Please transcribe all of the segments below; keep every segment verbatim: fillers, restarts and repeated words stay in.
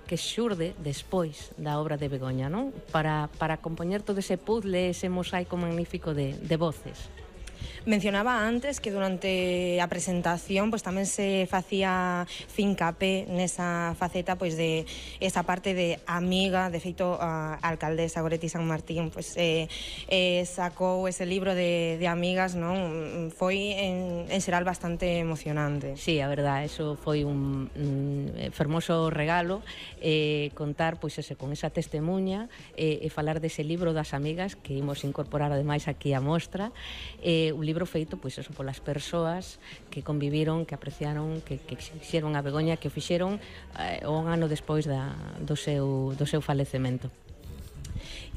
que xurde despois da obra de Begoña, non? Para, para compoñer todo ese puzzle, ese mosaico magnífico de, de voces. Mencionaba antes que durante a presentación pues tamén se facía fincapé nesa faceta pois de esa parte de amiga. De feito, a alcaldesa Goretti San Martín pues eh, eh, sacou ese libro de, de amigas, non? Foi en, en xeral bastante emocionante. Sí, a verdad, eso foi un, un fermoso regalo, eh, contar pois ese, con esa testemunha eh, e falar dese libro das amigas que imos incorporar ademais aquí a mostra, eh, un libro feito pois eso polas persoas que conviviron, que apreciaron, que, que quixeron a Begoña, que o fixeron eh, un ano despois da, do, seu, do seu falecemento.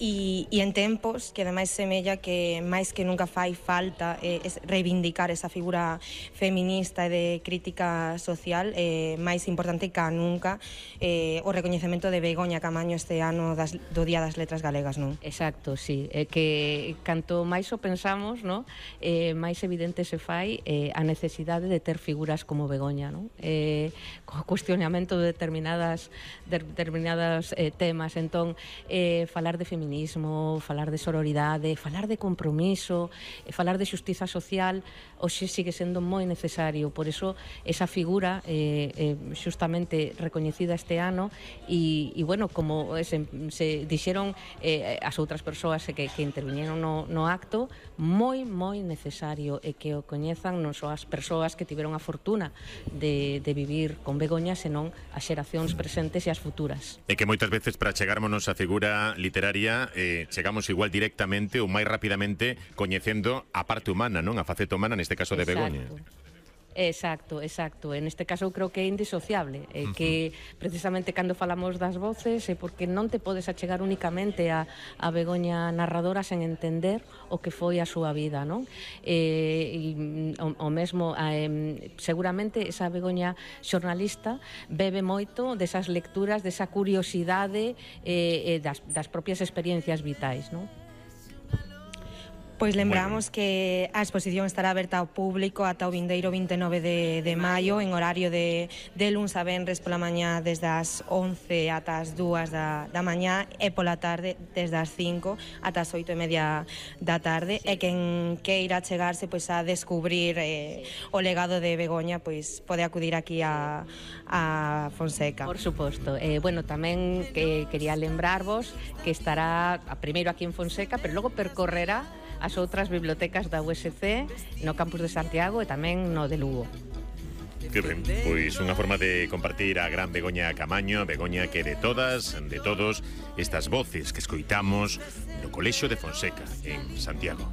E, e en tempos que ademais semella que máis que nunca fai falta eh, es reivindicar esa figura feminista e de crítica social, eh, máis importante que nunca eh, o recoñecemento de Begoña Camaño este ano das, do Día das Letras Galegas, non? Exacto, sí, é que canto máis o pensamos, non? Eh, máis evidente se fai eh, a necesidade de ter figuras como Begoña, non? Eh, co cuestionamento de determinadas, de determinadas eh, temas, entón eh, falar de feminismo, falar de sororidade, falar de compromiso, falar de xustiza social, hoxe sigue sendo moi necesario. Por iso esa figura eh, eh, xustamente recoñecida este ano e, e bueno, como se, se dixeron eh, as outras persoas que, que interviñeron no, no acto, moi, moi necesario e que o coñezan non só as persoas que tiveron a fortuna de, de vivir con Begoña, senón as xeracións presentes e as futuras. E que moitas veces para chegarmonos á figura literaria eh, chegamos igual directamente ou máis rapidamente coñecendo a parte humana, non? A faceta humana, neste caso de Begoña. Exacto, exacto. En este caso eu creo que é indisociable, é uh -huh. que precisamente cando falamos das voces é porque non te podes achegar únicamente a, a Begoña narradora sen entender o que foi a súa vida, non? Eh, e, o, o mesmo, eh, seguramente esa Begoña xornalista bebe moito desas lecturas, desa curiosidade eh, das, das propias experiencias vitais, non? Pois lembramos que a exposición estará aberta ao público ata o vindeiro vinte e nove de, de maio en horario de, de luns a venres pola mañá desde as once ata as dúas da, da mañá e pola tarde desde as cinco ata as oito e media da tarde. E quen queira chegarse pois a descubrir eh, o legado de Begoña pois pode acudir aquí a, a Fonseca. Por suposto. Eh, bueno, tamén que quería lembrarvos que estará a primeiro aquí en Fonseca, pero logo percorrerá as outras bibliotecas da U S C no campus de Santiago e tamén no de Lugo. Que ben, pois unha forma de compartir a gran Begoña Camaño, Begoña que de todas, de todos estas voces que escoitamos no Colexio de Fonseca en Santiago.